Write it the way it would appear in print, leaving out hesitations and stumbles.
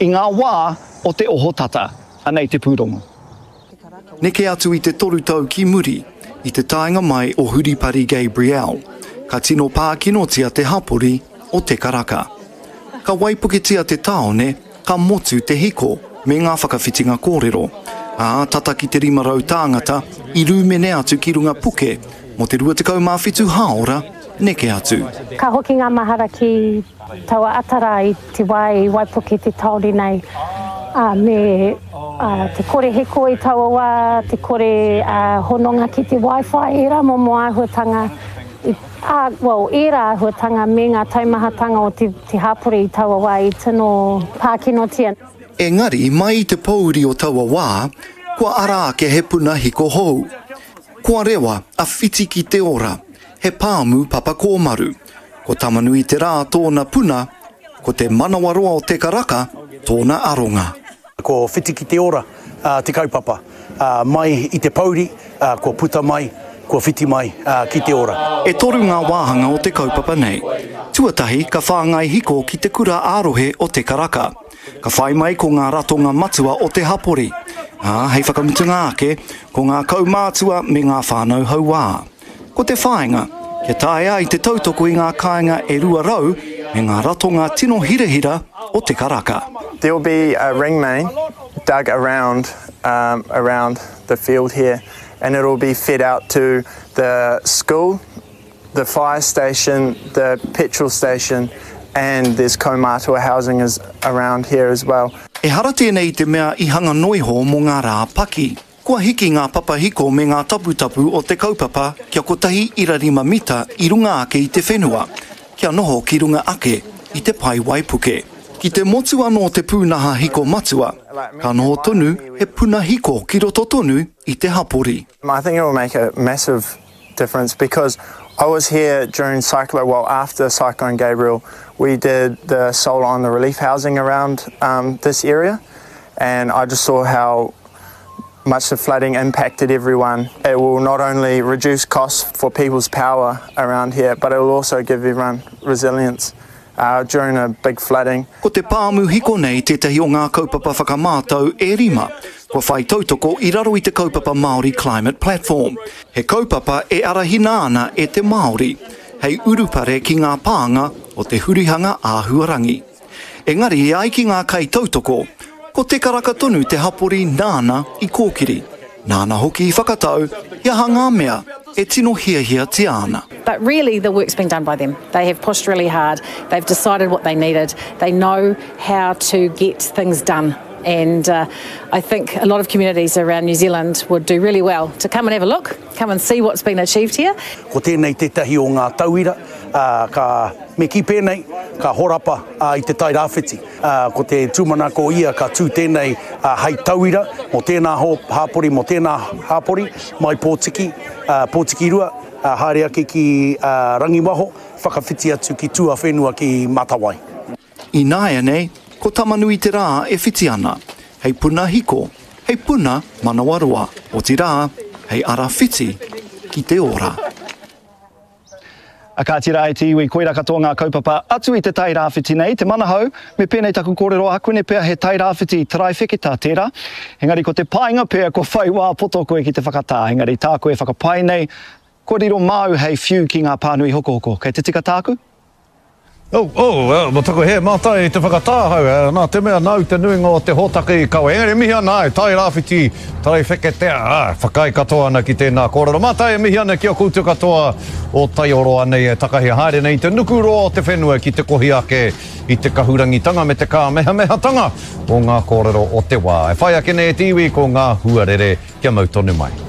i ngā wā o te ohotata. Anei te pūrongo. Neke atu i te toru tau ki muri, i te taenga mai o Huripari Gabrielle, ka tino pākinotia te hapori o Te Karaka. Ka waipuketia te tāone, ka motu te hiko me ngā whakawhitinga kōrero, ā, tata ki te 500 tāngata i rūmene atu ki runga puke mō te 27 hāora neke atu. Ka hoki ngā mahara ki taua ata rā i te wā i waipuke te tāone nei, ā, me te kore hiko i taua wā, te kore hononga ki te wifi, ērā momo āhuatanga, ā, well, ērā āhuatanga me ngā taumahatanga o te hapori i taua wā i tino pākinotia. Engari, mai i te pōuri o taua wā, kua ara ake he puna hiko hou. Kua rewa a Whiti ki te ora, he pāmu papa kōmaru. Ko Tamanui-te-rā tōna puna, ko te manawaroa o Te Karaka tōna aronga. Ko Whiti ki te ora te kaupapa. Mai i te pouri, kua puta mai, kua whiti mai ki te ora. E toru ngā wāhanga o te kaupapa nei. Tuatahi, ka whāngai hiko ki te kura ā-rohe o Te Karaka. Ka whai mai ko ngā ratonga matua o te hapori, ā, hei whakamutunga ake, ko ngā kaumātua me ngā whānau hauā. Ko te whāinga, kia taea ai te tautoko i ngā kāinga e 200 me ngā ratonga tino hirahira o Te Karaka. There will be a ring main dug around around the field here and it will be fed out to the school, the fire station, the petrol station and there's kaumātua housing is around here as well. Ehara tēnei i te mea i hanga noiho mō ngā rā paki. Kua hiki ngā papahiko me ngā taputapu o te kaupapa kia 1.5 mita i runga ake i te whenua, kia noho ki runga ake i te pae waipuke. Ki te motu anō te pūnaha hiko matua, ka noho tonu he puna hiko ki roto tonu i te hapori. I think it will make a massive difference because I was here during cyclo well after Cyclone Gabriel we did the solar on the relief housing around um, this area and I just saw how much the flooding impacted everyone. It will not only reduce costs for people's power around here, but it will also give everyone resilience uh, during a big flooding. Ko te pāmu hiko nei tētahi o ngā kaupapa whakamātau e rima kua whai tautoko i raro i te kaupapa Māori Climate Platform, he kaupapa e arahina ana e te Māori hei urupare ki ngā pānga o te hurihanga āhuarangi. Engari e ai ki ngā kaitautoko, ko Te Karaka tonu te hapori nāna i kōkiri, nāna hoki i whakatau he aha ngā mea e tino hiahiatia ana. But really the work's been done by them. They have pushed really hard, they've decided what they needed, they know how to get things done and uh, I think a lot of communities around New Zealand would do really well to come and have a look, come and see what's been achieved here. Ko tēnei tētahi o ngā tauira, uh, ka, me kī pēnei, ka horapa uh, i te Tai Rāwhiti. Uh, ko te tūmanako ia ka tū tēnei uh, hei tauira mō tēnā hāpori, mō tēnā hāpori, mai Pōtiki, uh, Pōtikirua, uh, haere ake ki uh, Rangiwaho, whakawhiti atu ki tuawhenua ki Matawai. Ināianei, ko Tamanui-te-rā e whiti ana, hei puna hiko, hei puna manawaroa, otirā, hei ara whiti ki te ora. A kāti rā e te iwi, koirā katoa ngā kaupapa atu i te Tai Rāwhiti nei, te manahau, me pēnei taku kōrero ākuene pea he Tai Rāwhiti taraiwheketa tērā, engari ko te painga pea kua whai wā poto koe ki te whakatā, engari tāku e whakapae nei, kua riro māu hei whiu ki ngā pānui hokohoko. Kei te tika tāku? Oh, oh, mo taku hē mātai i te whakatā ahau, eh, nā te mea nāu te nuinga o te hōtaka i kawe. Engari e mihi ana, ai, Tai Rāwhiti, Taraiwheketea, ā, whakaae katoa ana ki tēnā kōrero. Mātai e mihi ana ki a koutou katoa o Taioro anei e takahi haere nei i te nukuroa o te whenua ki te kohi ake i te kahurangitanga me te kāmehamehatanga o ngā kōrero o te wā. E whai ake nei e te iwi ko ngā huarere kia mau tonu mai.